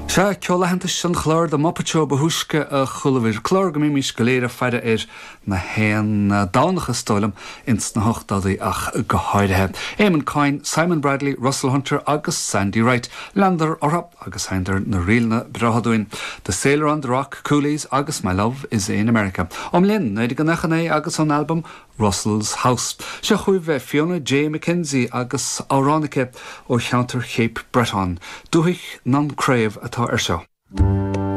Sea, ceol aitheantais an chláir The Muppet Show ba thúisce a chualabhair. Clár go mbímís go léir ag faire air na haon Domhnach is dóigh liom, ins na hochtóidí ach go háirithe. Eamon Coyne, Simon Bradley, Russell Hunter agus Sandy Wright. Leanadar orthu agus sheinneadar na ríleanna breátha dúinn, The Sailor on the Rock, Coolies agus My Love is in America. Ón mbliain 1999 agus ón albam Russell's House. Seo chugaibh Fiona Jay McKenzie agus amhrán aici ó cheantar Cape Breton. Dúthaigh nan Craobh atá air seo.